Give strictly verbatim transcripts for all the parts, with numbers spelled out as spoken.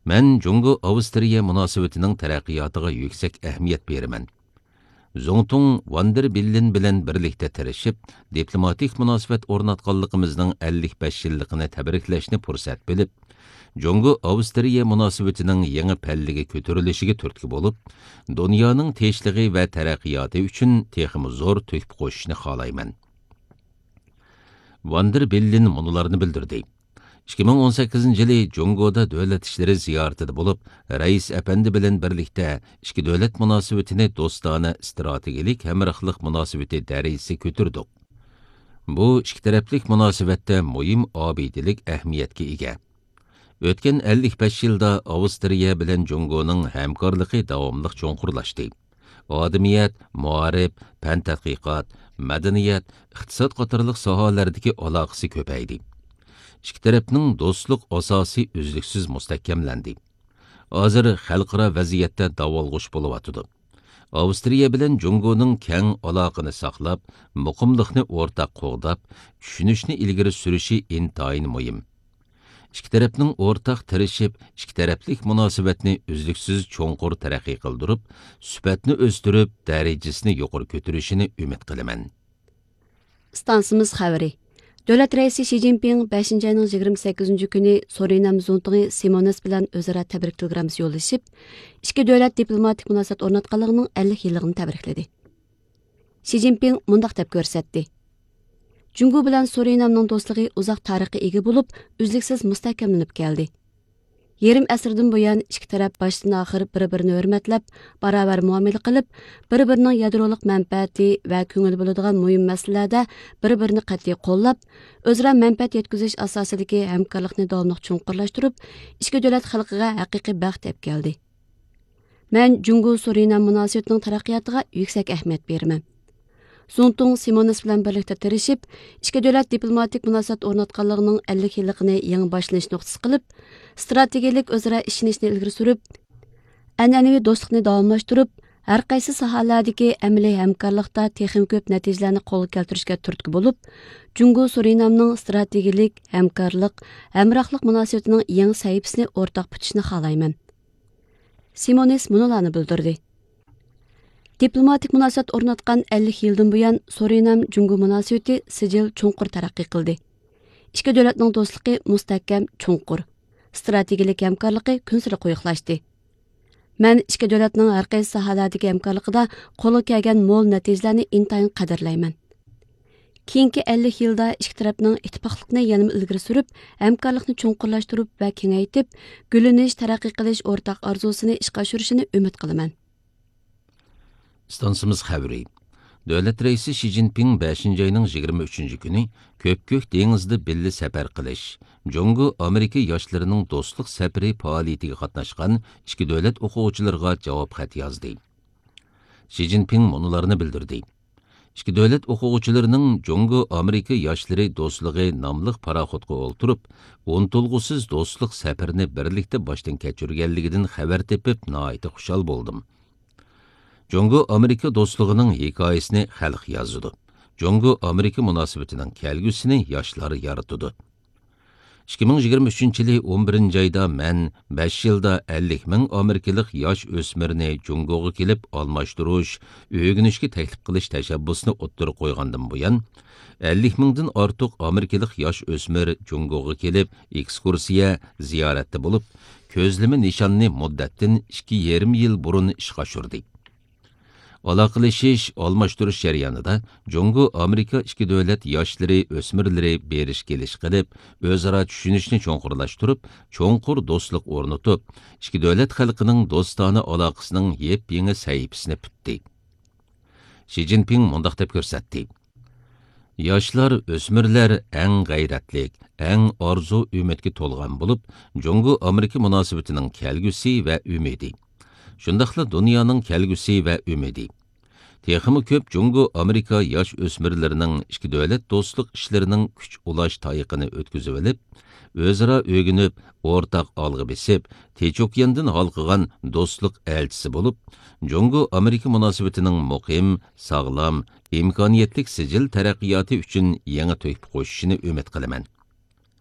مەن جۇڭگو ئاۋسترىيە مۇناسىۋىتىنىڭ تەرەققىياتىغا يۈكسەك ئەھمىيەت بېرىمەن. زۇڭتۇڭ ۋاندېر بېللېن بىلەن بىرلىكتە تىرىشىپ، دىپلوماتىك مۇناسىۋەت ئورناتقانلىقىمىزنىڭ ئەللىك بەش يىللىقىنى تەبرىكلەشنى پۇرسەت بىلىپ، جۇڭگو ئاۋسترىيە مۇناسىۋىتىنىڭ يېڭى پەللىگە كۆتۈرۈلۈشىگە تۈرتكە بولۇپ، دۇنيانىڭ تىنچلىقى ۋە تەرەققىياتى ئۈچۈن تېخىمۇ زور تۆھپە قوشۇشنى خالايمەن. ۋاندېر بېللېن مۇنۇلارنى بىلدۈردى. ئىككى مىڭ ئون سەككىزىنچى يىلى جۇڭگودا دۆلەت ئىشلىرى زىيارىتىدە بولۇپ، رەئىس ئەپەندى بىلەن بىرلىكتە ئىككى دۆلەت مۇناسىۋىتىنى دوستانە ئىستراتېگىيەلىك ھەمراھلىق مۇناسىۋىتى دەرىجىسىگە كۆتۈردۇق. بۇ ئىككى تەرەپلىك مۇناسىۋەتتە مۇھىم ئابىدىلىك ئەھمىيەتكە ئىگە. ئۆتكەن ئەللىك بەش يىلدا ئاۋسترىيە بىلەن جۇڭگونىڭ ھەمكارلىقى داۋاملىق چوڭقۇرلاشتى. ئادىمىيەت، مائارىپ، پەن تەتقىقات، مەدەنىيەت، ئىقتىساد قاتارلىق ساھەلەردىكى ئالاقىسى كۆپەيدى. ئىككى تەرەپنىڭ دوستلۇق ئاساسى ئۈزلۈكسىز مۇستەھكەملەندى. ھازىر خەلقئارا ۋەزىيەتتە داۋالغۇش بولۇۋاتىدۇ. ئاۋسترىيە بىلەن جۇڭگونىڭ كەڭ ئالاقىنى ساقلاپ، مۇقىملىقنى ئورتاق قوغداپ، چۈشىنىشنى ئىلگىرى سۈرۈشى ئىنتايىن مۇھىم. ئىككى تەرەپنىڭ ئورتاق تىرىشىپ، ئىككى تەرەپلىك مۇناسىۋەتنى ئۈزلۈكسىز چوڭقۇر تەرەققىي قىلدۇرۇپ، سۈپەتنى ئۆستۈرۈپ، دەرىجىسىنى يۇقىرى كۆتۈرۈشىنى ئۈمىد قىلىمەن. ئىستانسىمىز خەۋىرى. دۆلەت رەئىسى شى جىنپىڭ بەشىنچى ئاينىڭ يىگىرمە سەككىزىنچى كۈنى سۇرىنام زۇڭتۇڭى سىمونېس بىلەن ئۆزئارا تەبرىك تېلېگراممىسى يوللىشىپ، ئىككى دۆلەت دىپلوماتىك مۇناسىۋەت ئورناتقانلىقىنىڭ ئەللىك يىللىقىنى تەبرىكلىدى. شى جىنپىڭ مۇنداق دەپ كۆرسەتتى: جۇڭگو بىلەن سۇرىنامنىڭ دوستلۇقى ئۇزاق تارىخقا ئىگە بولۇپ، ئۈزلۈكسىز مۇستەھكەملىنىپ كەلدى. يېرىم ئەسىردىن بۇيان، ئىككى تەرەپ باشتىن ئاخىر بىر-بىرىنى ھۆرمەتلەپ، باراۋەر مۇئامىلە قىلىپ، بىر-بىرىنىڭ يادرولۇق مەنپەئەتى ۋە كۆڭۈل بۆلىدىغان مۇھىم مەسىلىلەردە بىر-بىرىنى قەتئىي قوللاپ، ئۆزئارا مەنپەئەت يەتكۈزۈش ئاساسىدىكى ھەمكارلىقنى داۋاملىق چوڭقۇرلاشتۇرۇپ، ئىككى دۆلەت خەلقىگە ھەقىقىي بەخت ئەپ كەلدى. مەن جۇڭگو سۇرىنام مۇناسىۋىتىنىڭ تەرەققىياتىغا يۈكسەك ئەھمىيەت بېرىمەن. زۇڭتۇڭ سىمونېس بىلەن بىرلىكتە تىرىشىپ، ئىككى دۆلەت دىپلوماتىك مۇناسىۋەت ئورناتقانلىقىنىڭ ئەللىك يىللىقىنى يېڭى باشلىنىش نۇقتىسى قىلىپ، ئىستراتېگىيەلىك ئۆزئارا ئىشىنىشنى ئىلگىرى سۈرۈپ، ئەنئەنىۋى دوستلۇقنى داۋاملاشتۇرۇپ، ھەر قايسى ساھەلەردىكى ئەمەلىي ھەمكارلىقتا تېخىمۇ كۆپ نەتىجىلەرنى قولغا كەلتۈرۈشكە تۈرتكە بولۇپ، جۇڭگو سۇرىنامنىڭ ئىستراتېگىيەلىك ھەمكارلىق، ھەمراھلىق مۇناسىۋىتىنىڭ يېڭى سەھىپىسىنى ئورتاق پۈتۈشنى خالايمەن. سىمونېس مۇنۇلارنى بىلدۈردى: دىپلوماتىك مۇناسىۋەت ئورناتقان ئەللىك يىلدىن بۇيان، سۇرىنام جۇڭگو مۇناسىۋىتى سىجىل چوڭقۇر تەرەققىي قىلدى. ئىككى دۆلەتنىڭ دوستلۇقى مۇستەھكەم، چوڭقۇر، ئىستراتېگىيەلىك ھەمكارلىقى كۈنسېرى قويۇقلاشتى. مەن ئىككى دۆلەتنىڭ ھەر قايسى ساھەلەردىكى ھەمكارلىقىدا قولغا كەلگەن مول نەتىجىلەرنى ئىنتايىن قەدىرلەيمەن. كېيىنكى ئەللىك يىلدا ئىككى تەرەپنىڭ ئىتتىپاقلىقنى يەنىمۇ ئىلگىرى سۈرۈپ، ھەمكارلىقنى چوڭقۇرلاشتۇرۇپ ۋە كېڭەيتىپ، گۈللىنىش، تەرەققىي قىلىش ئورتاق ئارزۇسىنى ئىشقا ئاشۇرۇشىنى ئۈمىد قىلىمەن. ئىستانسىمىز خەۋىرى. دۆلەت رەئىسى شى جىنپىڭ بەشىنچى ئاينىڭ يىگىرمە ئۈچىنچى كۈنى كۆپكۆك دېڭىزدا بىللە سەپەر قىلىش، جۇڭگو ئامېرىكا ياشلىرىنىڭ دوستلۇق سەپىرى پائالىيىتىگە قاتناشقان ئىككى دۆلەت ئوقۇغۇچىلىرىغا جاۋاب خەت يازدى. شى جىنپىڭ مۇنۇلارنى بىلدۈردى: ئىككى دۆلەت ئوقۇغۇچىلىرىنىڭ جۇڭگو ئامېرىكا ياشلىرى دوستلۇقى ناملىق پاراخوتقا ئولتۇرۇپ، ئۇنتۇلغۇسىز دوستلۇق سەپىرىنى بىرلىكتە باشتىن كەچۈرگەنلىكىدىن خەۋەر تېپىپ، ناھايىتى خۇشال بولدۇم. جۇڭگو ئامېرىكا دوستلۇقىنىڭ ھېكايىسىنى خەلق يازىدۇ. جۇڭگو ئامېرىكا مۇناسىۋىتىنىڭ كەلگۈسىنى ياشلار يارىتىدۇ. ئىككى مىڭ يىگىرمە ئۈچىنچى يىلى ئون بىرىنچى ئايدا مەن بەش يىلدا ئەللىك مىڭ ئامېرىكىلىق ياش ئۆسمۈرنى جۇڭگوغا كېلىپ ئالماشتۇرۇش، ئۆگىنىشكە تەكلىپ قىلىش تەشەببۇسىنى ئوتتۇرىغا قويغاندىن بۇيان، ئەللىك مىڭدىن ئارتۇق ئامېرىكىلىق ياش ئۆسمۈر جۇڭگوغا كېلىپ ئېكسكۇرسىيە، زىيارەتتە بولۇپ، كۆزلىمە نىشاننى مۇددەتتىن ئىككى يېرىم يىل بۇرۇن ئىشقا ئاشۇردى. ئالاقىلىشىش، ئالماشتۇرۇش جەريانىدا جۇڭگو ئامېرىكا ئىككى دۆلەت ياشلىرى، ئۆسمۈرلىرى بېرىش كېلىش قىلىپ، ئۆزئارا چۈشىنىشنى چوڭقۇرلاشتۇرۇپ، چوڭقۇر دوستلۇق ئورنىتىپ، ئىككى دۆلەت خەلقىنىڭ دوستانە ئالاقىسىنىڭ يېپيېڭى سەھىپىسىنى پۈتتى. شى جىنپىڭ مۇنداق دەپ كۆرسەتتى: ياشلار، ئۆسمۈرلەر ئەڭ غەيرەتلىك، ئەڭ ئارزۇ ئۈمىدكە تولغان بولۇپ، جۇڭگو ئامېرىكا مۇناسىۋىتىنىڭ كەلگۈسى ۋە ئۈمىدى، شۇنداقلا دۇنيانىڭ كەلگۈسى ۋە ئۈمىدى. تېخىمۇ كۆپ جۇڭگو ئامېرىكا ياش ئۆسمۈرلىرىنىڭ ئىككى دۆلەت دوستلۇق ئىشلىرىنىڭ كۈچ ئۇلاش تايىقىنى ئۆتكۈزۈۋېلىپ، ئۆزئارا ئۆگىنىپ، ئورتاق ئالغا بېسىپ، تىنچ ئوكياندىن ھالقىغان دوستلۇق ئەلچىسى بولۇپ، جۇڭگو ئامېرىكا مۇناسىۋىتىنىڭ مۇقىم، ساغلام، ئىمكانىيەتلىك سىجىل تەرەققىياتى ئۈچۈن يېڭى تۆھپە قوشۇشىنى ئۈمىد قىلىمەن.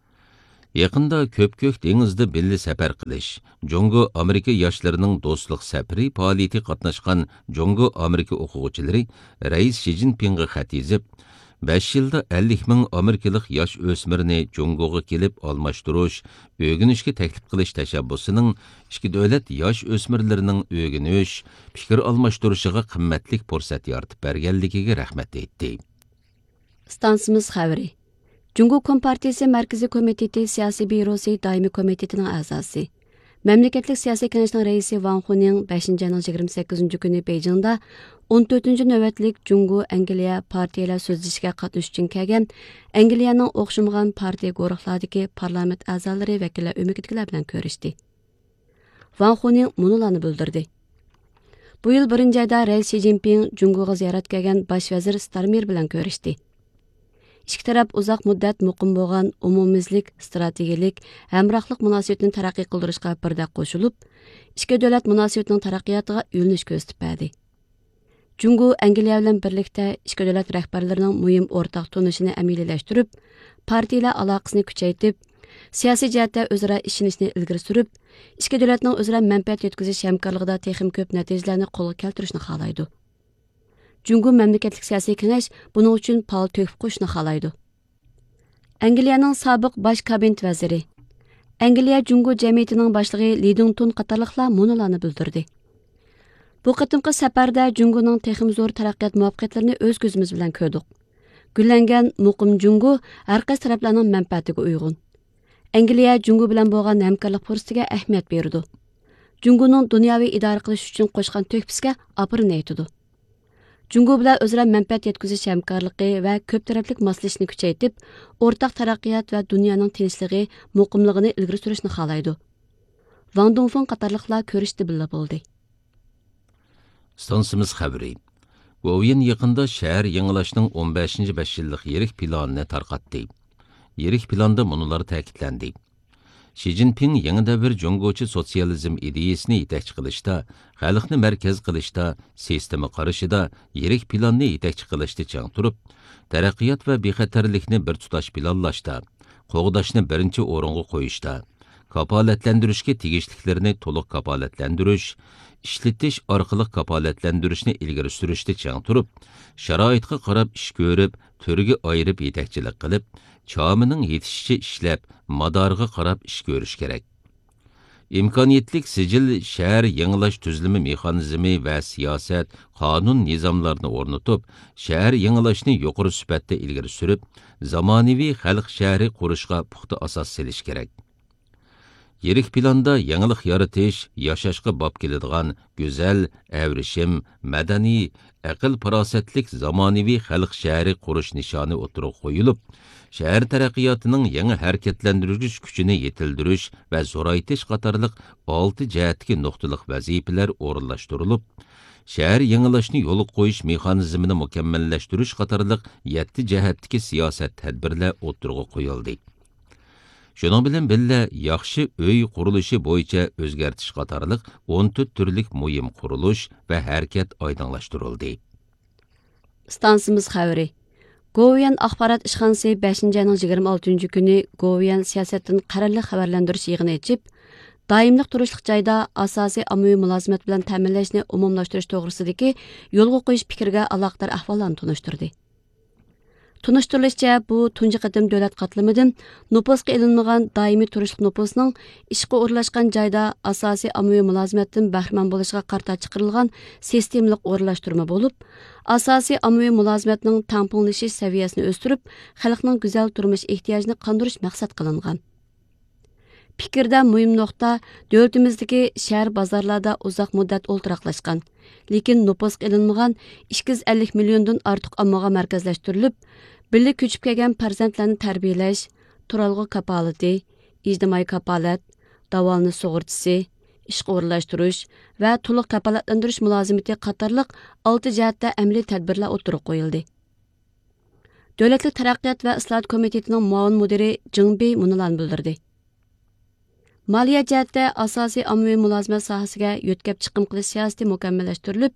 يېقىندا كۆپكۆك دېڭىزدا بىللە سەپەر قىلىش، جۇڭگو ئامېرىكا ياشلىرىنىڭ دوستلۇق سەپىرى پائالىيىتىگە قاتناشقان جۇڭگو ئامېرىكا ئوقۇغۇچىلىرى رەئىس شى جىنپىڭغا خەت يېزىپ، بەش يىلدا ئەللىك مىڭ ئامېرىكىلىق ياش ئۆسمۈرنى جۇڭگوغا كېلىپ ئالماشتۇرۇش، ئۆگىنىشكە تەكلىپ قىلىش تەشەببۇسىنىڭ ئىككى دۆلەت ياش ئۆسمۈرلىرىنىڭ ئۆگىنىش، پىكىر ئالماشتۇرۇشىغا قىممەتلىك پۇرسەت يارىتىپ بەرگەنلىكىگە رەھمەت ئېيتتى. ئىستانسىمىز خەۋىرى. جۇڭگو كومپارتىيىسى مەركىزىي كومىتېتى سىياسىي بيۇروسى دائىمىي كومىتېتىنىڭ ئەزاسى، مەملىكەتلىك سىياسىي كېڭەشنىڭ رەئىسى ۋاڭ خۇنىڭ بەشىنچى ئاينىڭ يىگىرمە سەككىزىنچى كۈنى بېيجىڭدا ئون تۆتىنچى نۆۋەتلىك جۇڭگو ئەنگلىيە پارتىيىلەر سۆزلىشىشىگە قاتنىشىش ئۈچۈن كەلگەن ئەنگلىيەنىڭ ئوخشىمىغان پارتىيە گۇرۇھلاردىكى پارلامېنت ئەزالىرى، ۋەكىللەر ئۆمىكىدىكىلەر بىلەن كۆرۈشتى. ۋاڭ خۇنىڭ مۇنۇلارنى بىلدۈردى. بۇ يىل بىرىنچى ئايدا رەئىس شى جىنپىڭ جۇڭگوغا زىيارەتكە كەلگەن باش ۋەزىر ستارمېر بىلەن كۆرۈشتى. ئىككى تەرەپ ئۇزاق مۇددەت مۇقىم بولغان ئومۇميۈزلۈك ئىستراتېگىيەلىك ھەمراھلىق مۇناسىۋىتىنى تەرەققىي قىلدۇرۇشقا بىردەك قوشۇلۇپ، ئىككى دۆلەت مۇناسىۋىتىنىڭ تەرەققىياتىغا يۆنىلىش كۆرسىتىپ بەردى. جۇڭگو ئەنگلىيە بىلەن بىرلىكتە ئىككى دۆلەت رەھبەرلىرىنىڭ مۇھىم ئورتاق تونۇشىنى ئەمەلىيلەشتۈرۈپ، پارتىيىلەر ئالاقىسىنى كۈچەيتىپ، سىياسىي جەھەتتە ئۆزئارا ئىشىنىشنى ئىلگىرى سۈرۈپ، ئىككى دۆلەتنىڭ ئۆزئارا مەنپەئەت يەتكۈزۈش ھەمكارلىقىدا تېخىمۇ كۆپ نەتىجىلەرنى قولغا كەلتۈرۈشنى خالايدۇ. جۇڭگو مەملىكەتلىك سىياسىي كېڭەش بۇنىڭ ئۈچۈن پائال تۆھپە قوشۇشنى خالايدۇ. ئەنگلىيەنىڭ سابىق باش كابىنېت ۋەزىرى، ئەنگلىيە جۇڭگو جەمئىيىتىنىڭ باشلىقى لى دىڭتۇن قاتارلىقلار مۇنۇلارنى بىلدۈردى. بۇ قېتىمقى سەپەردە جۇڭگونىڭ تېخىمۇ زور تەرەققىيات مۇۋەپپەقىيەتلىرىنى ئۆز كۆزىمىز بىلەن كۆردۇق. گۈللەنگەن مۇقىم جۇڭگو ھەر قايسى تەرەپلەرنىڭ مەنپەئەتىگە ئۇيغۇن. ئەنگلىيە جۇڭگو بىلەن بولغان ھەمكارلىق پۇرسىتىگە ئەھمىيەت بېرىدۇ. جۇڭگونىڭ دۇنياۋى ئىدارە قىلىش ئۈچۈن قوشقان تۆھپىسىگە ئاپىرىن ئېيتىدۇ. جۇڭگو بىلەن ئۆزئارا مەنپەئەت يەتكۈزۈش ھەمكارلىقى ۋە كۆپ تەرەپلىك ماسلىشىشنى كۈچەيتىپ، ئورتاق تەرەققىيات ۋە دۇنيانىڭ تىنچلىقى، مۇقىملىقىنى ئىلگىرى سۈرۈشنى خالايدۇ. ۋاڭ دۇڭفېڭ قاتارلىقلار كۆرۈشۈشتە بىللە بولدى. ئىستانسىمىز خەۋىرى. گوۋۇيۈەن يېقىندا شەھەر يېڭىلاشنىڭ ئون بەشىنچى بەش يىللىق يىرىك پىلانىنى تارقاتتى. يىرىك پىلاندا مۇنۇلار تەكىتلەندى. شى جىنپىڭ يېڭى دەۋر جۇڭگوچە سوتسىيالىزم ئىدىيىسىنى يېتەكچى قىلىشتا، خەلقنى مەركەز قىلىشتا، سىستېما قارىشىدا، يىرىك پىلاننى يېتەكچى قىلىشتا چىڭ تۇرۇپ، تەرەققىيات ۋە بىخەتەرلىكنى بىر تۇتاش پىلانلاشتا، قوغداشنى بىرىنچى ئورۇنغا قويۇشتا، كاپالەتلەندۈرۈشكە تېگىشلىكلىرىنى تولۇق كاپالەتلەندۈرۈش، ئىشلىتىش ئارقىلىق كاپالەتلەندۈرۈشنى ئىلگىرى سۈرۈشتە چىڭ تۇرۇپ، شارائىتقا قاراپ ئىش كۆرۈپ، تۈرگە ئايرىپ يېتەكچىلىك قىلىپ، چامىنىڭ يېتىشىچە ئىشلەپ، مادارىغا قاراپ ئىش كۆرۈش كېرەك. ئىمكانىيەتلىك سىجىل شەھەر يېڭىلاش تۈزۈلمە مېخانىزمى ۋە سىياسەت، قانۇن، نىزاملارنى ئورنىتىپ، شەھەر يېڭىلاشنى يۇقىرى سۈپەتتە ئىلگىرى سۈرۈپ، زامانىۋى خەلق شەھىرى قۇرۇشقا پۇختا ئاساس سېلىش كېرەك. يىرىك پىلاندا يېڭىلىق يارىتىش، ياشاشقا باب كېلىدىغان گۈزەل، ئەۋرىشىم، مەدەنىي، ئەقىل-پاراسەتلىك زامانىۋى خەلق شەھىرى قۇرۇش نىشانى ئوتتۇرىغا قويۇلۇپ، شەھەر تەرەققىياتىنىڭ يېڭى ھەرىكەتلەندۈرگۈچ كۈچىنى يېتىلدۈرۈش ۋە زورايتىش قاتارلىق ئالتە جەھەتتىكى نۇقتىلىق ۋەزىپىلەر ئورۇنلاشتۇرۇلۇپ، شەھەر يېڭىلاشنى يولغا قويۇش مېخانىزمىنى مۇكەممەللەشتۈرۈش قاتارلىق يەتتە جەھەتتىكى سىياسەت تەدبىرلەر ئوتتۇرىغا قويۇلدى. شۇنىڭ بىلەن بىللە، ياخشى ئۆي قۇرۇلۇشى بويىچە ئۆزگەرتىش قاتارلىق ئون تۆت تۈرلۈك مۇھىم قۇرۇلۇش ۋە ھەرىكەت ئايدىڭلاشتۇرۇلدى. ئىستانسىمىز خەۋىرى. گوۋۇيۈەن ئاخبارات ئىشخانىسى بەشىنچى ئاينىڭ يىگىرمە ئالتىنچى كۈنى گوۋۇيۈەن سىياسەتتىن قەرەللىك خەۋەرلەندۈرۈش يىغىنى ئېچىپ، دائىملىق تۇرۇشلۇق جايدا ئاساسىي ئاممىۋى مۇلازىمەت بىلەن تەمىنلەشنى ئومۇملاشتۇرۇش توغرىسىدىكى يولغا قويۇش پىكرىگە ئالاقىدار ئەھۋاللارنى تونۇشتۇردى. تونۇشتۇرۇلۇشىچە، بۇ تۇنجى قېتىم دۆلەت قاتلىمىدىن نوپۇسقا ئېلىنمىغان دائىمىي تۇرۇشلۇق نوپۇسنىڭ ئىشقا ئورۇنلاشقان جايدا ئاساسىي ئاممىۋى مۇلازىمەتتىن بەھرىمەن بولۇشىغا قارىتا چىقىرىلغان سىستېمىلىق ئورۇنلاشتۇرما بولۇپ، ئاساسىي ئاممىۋى مۇلازىمەتنىڭ تەڭپۇڭلىشىش سەۋىيەسىنى ئۆستۈرۈپ، خەلقنىڭ گۈزەل تۇرمۇش ئېھتىياجىنى قاندۇرۇش مەقسەت قىلىنغان. پىكىردە مۇھىم نۇقتا، دۆلىتىمىزدىكى شەھەر بازارلاردا ئۇزاق مۇددەت ئولتۇراقلاشقان، لېكىن نوپۇسقا ئېلىنمىغان ئىككى يۈز ئەللىك مىليوندىن ئارتۇق ئاممىغا مەركەزلەشتۈرۈلۈپ، بىللە كۆچۈپ كەلگەن پەرزەنتلەرنى تەربىيەلەش، تۇرالغۇ كاپالىتى، ئىجتىمائىي كاپالەت، داۋالىنىش سۇغۇرتىسى، ئىشقا ئورۇنلاشتۇرۇش ۋە تولۇق كاپالەتلەندۈرۈش مۇلازىمىتى قاتارلىق ئالتە جەھەتتە ئەمەلىي تەدبىرلەر ئوتتۇرىغا قويۇلدى. دۆلەتلىك تەرەققىيات ۋە ئىسلاھات كومىتېتىنىڭ مۇئاۋىن مۇدىرى جېڭ بېي مۇنۇلارنى بىلدۈردى. مالىيە جەھەتتە ئاساسىي ئاممىۋى مۇلازىمەت ساھەسىگە يۆتكەپ چىقىم قىلىش سىياسىتى مۇكەممەللەشتۈرۈلۈپ،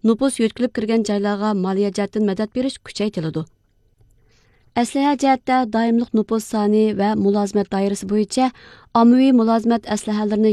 نوپۇس يۆتكىلىپ كىرگەن جايلارغا مالىيە جەھەتتىن مەدەت بېرىش كۈچەيتىلىدۇ. ئەسلىھە جەھەتتە دائىملىق نوپۇس سانى ۋە مۇلازىمەت دائىرىسى بويىچە ئاممىۋى مۇلازىمەت ئەسلىھەلىرىنى